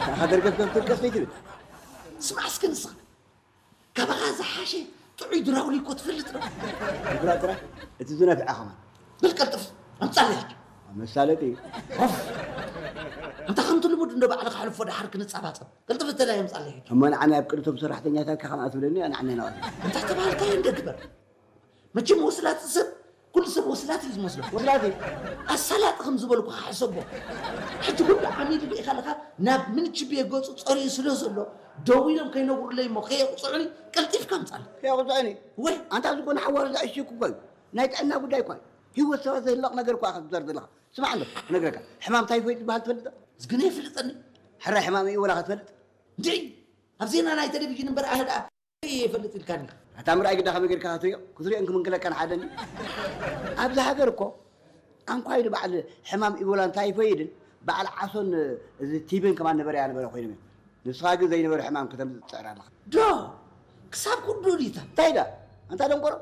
ኣኻ ደርገፍ ደርገፍ ደርገፍ ዘይትብል። ስማዕ እስከ ንስኻ። ካባኻ ዝሓሸ ጥዑይ ድራውሊ እኮ ትፈልጥ ዶ? ድራውሊ ጥራሕ? እቲ ዝነፍዐ ኸማን። በል ቀልጥፍ፣ ኣምጻለይ ሕጂ። መሳለጢ። ኦፍ! ኣንታ ከምቲ ልሙድ እንዶ ባዕልኻ ሕልፎ ደሓር ክንጻባጸብ። ቀልጥፍ እተላይ ኣምጻለይ ሕጂ። እሞ ንዓና ኣብ ቅድቶም ሰራሕተኛታትካ ከምኣ ትብለኒ፣ ንዓና ይነቐፍ። እንታይ ተባሃልካዮ እንደ ግበር። መቸም ወስላቲ ሰብ፣ ኩሉ ሰብ ወስላቲ እዩ ዝመስሎ። ወስላቲ? ኣሳላጢ ከም ዝበልኩኻ ሕሰቦ። ሕጂ ኩሉ ዓሚሉ ርኢኻ ኣለኻ፣ ናብ ምንችብየ ገጹ ጸሪዩ ስለ ዘሎ፣ ደዊሎም ከይነግሩለይ እሞ ከየቕጽዑኒ፣ ቀልጢፍካ ኣምጻለይ። ከየቕጽዑኒ? ወይ። ኣንታ ዝኾነ ሓዋሩ ዘዕሽኩ እኮ እዩ። ናይ ጥዕና ጉዳይ እኳ እዩ። ህይወት ሰባት ዘህልቕ ነገር እኳ ኢኻ ትዛረብ ዘለኻ። ስማዕ ኣሎ፣ ክነግረካ። ሕማም ታይፎይድ ዝበሃል ትፈልጥ ዶ? ዝግነ ይፍልጠኒ። ሕራይ ሕማም እዩ ወላ ክትፈልጥ? እንድዒ፣ ኣብ ዜና ናይ ቴሌቪዥን እምበር ኣነ ደኣ ይፈልጥ ኢልካኒ። ኣታ ምርኣይ ግዳ ከመይ ጌርካ ክትሪኦ? ክትሪኦን ክምንክለካን ሓደ እንዲ። ኣብዚ ሃገር እኮ ኣንኳይ ንበዓል ሕማም ኢቦላን ታይፎይድን በዓል ዓሶን እዚ ቲቢን ከማን ነበረ ያነበረ ኮይኖም እዮም። ንስኻ ግን ዘይነበረ ሕማም ከተምጽእ ትጽዕር ኣለኻ። ዶ? ክሳብ ኩሉ ዲታ? እንታይ ዳ? ኣንታ ደንቆሮ?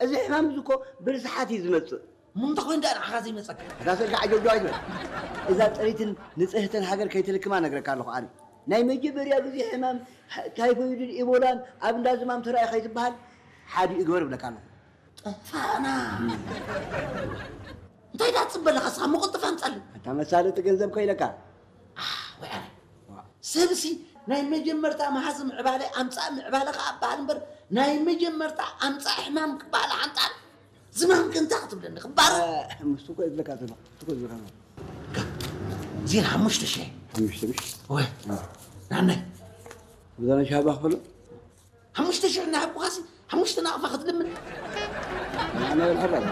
እዚ ሕማም እዚ እኮ ብርስሓት እዩ ዝመጽእ። እሞ እንታይ ኮይኑ ደኣ ንዓኻ ዘይመጸካ? እታ ስልካ ዓጀውጃው ኣይትበል። እዛ ጽሪትን ንጽህትን ሃገር ከይትልክማ ነግረካ ኣለኹ ኣነ። ናይ መጀመርያ ግዜ ሕማም ሕ-፣ ታይፎይድን ኢቦላን ኣብ እንዳ ዝማም ተራእዩ ከይትበሃል ሓዲ እግበር እብለካ ኣለኹ። ጠፋእና። እንታይ ደኣ ትጽበ ኣለኻ እስኻ? መቐልጥፍ ኣምጻለይ። ኣታ መሳለጢ ገንዘብ ከይለካ። ኣህ፣ ወይ ኣነ። ሰብሲ ናይ መጀመርታ መሃዚ ምዕባለ ኣምጻእ ምዕባለ ከኣ እበሃል እምበር፣ ናይ መጀመርታ ኣምጻእ ሕማም ክበሃል ሓንጣል። ዝማም ከ እንታይ ክትብለኒ? ክባረ? እ፣ ምስቲ እኮ እየ ዝብለካ ዘለኹ። ምስቲ እኮ እየ ዝብለካ ዘለኹ። ዜና ሓሙሽተ ሽሕ። ሓሙሽተ ሽሕ? ወይ። እ። ናነይ። ብዛና ሻባ ክፈሎ? ሓሙሽተ ሽሕ እናሃብኩኻሲ፣ ሓሙሽተ ናቕፋ ክትልምን? ናነይ ኣልሓራ።